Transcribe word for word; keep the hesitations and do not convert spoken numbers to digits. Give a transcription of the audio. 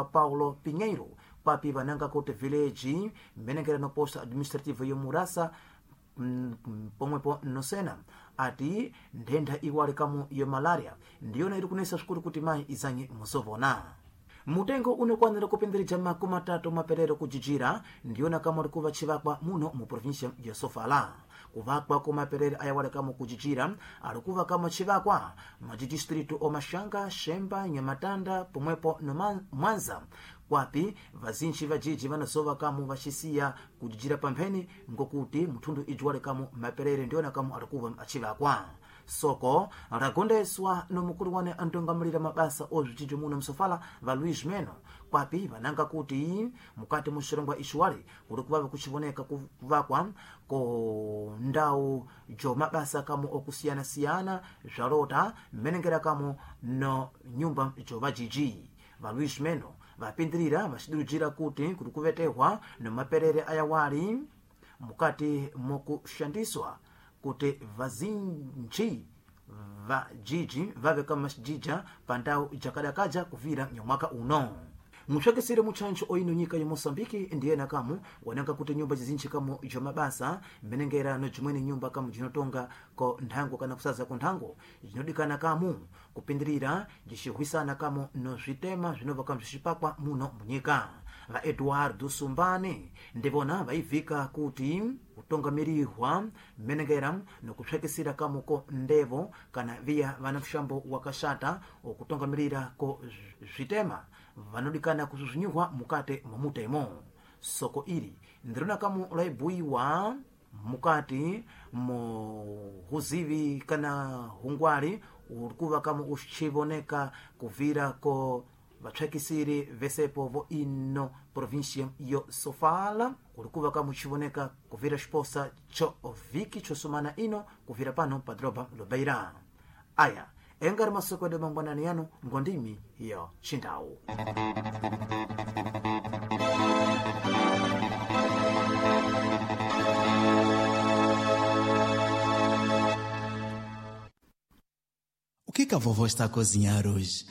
Paulo Pinheiro papi vananga kuti village mmenengera no posto administrativo yomurasa pomwepo nosena ati nthenda iwali kamu ya malaria ndiyona iri kunesa swikulu kuti mayi izanye musovona. Mutengo unokwanira kupindirija makumi atatu maperero kujijira ndiyona kamwe ri kuva chivakwa muno mu província ya Sofala. Kuvakwa kwa maperere ayawali kamwe kujijira ari kuva kamwe chivakwa majidistritu omashanga, Shemba, Nyamatanda pomwepo no Mwanza kwapi vazinji vajiji vanazova kamu vachisiya kujijira pampheni ngokuti mthundu ijuwale kamu maperere ndiyona kamu ari kuva achivakwa. Soko ragondeswa nomukulu wane antongamulira mabasa ozvijijo muno msofala va Luis Meno kwapi vananga kuti mukati mu xirongwa ixiwali kuri kuvava kuchivoneka kuvakwa ko ndau jo mabasa kamu okusiyana-siyana zvalota mmenengera kamu no nyumba jo vajiji. Va Luis Meno vapindirira vacidurujira kuti kuri kuvetehwa no maperere ayawali mukati mokushandiswa kuti vazinji vajiji vave kamajija pandau jakadakaja kuvira nyamwaka uno. Mupsakisire mutchantcho oino nyika ya Moçambique ndiyena kamu wananga kuti nyumba zizinji kamu jomabasa mmenengera no jimweni nyumba kamu jinotonga ko nthango kana kusaza ko nthango jinodikana kamu kupindirira jicihwisana kamu no zvitema zvinobva kamu zvicipakwa muno munyika. Va Eduardo Sumbane ndivona vaivika kuti kutongamirihwa mmenengera nokupsakisira kamu ko ndevo kana viya vana mshambo wakashata okutongamirira ko zvitema vanodikana kuzvinyuhwa mukati mwa mutemo. Soko ili ndirona kamu laibuiwa mukati mu huzivi kana hungwali urikuva kamu ucivoneka kuvira ko vapsakisiri vesepo vo ino província yo Sofala kulikuva kamu chivoneka kuvira xiposa cho viki chosumana ino kuvira pano pa droba lobeira. Aya engari masoko edu mangwanani yanu ngondimi yo chindau. O que que a vovó está a cozinhar hoje?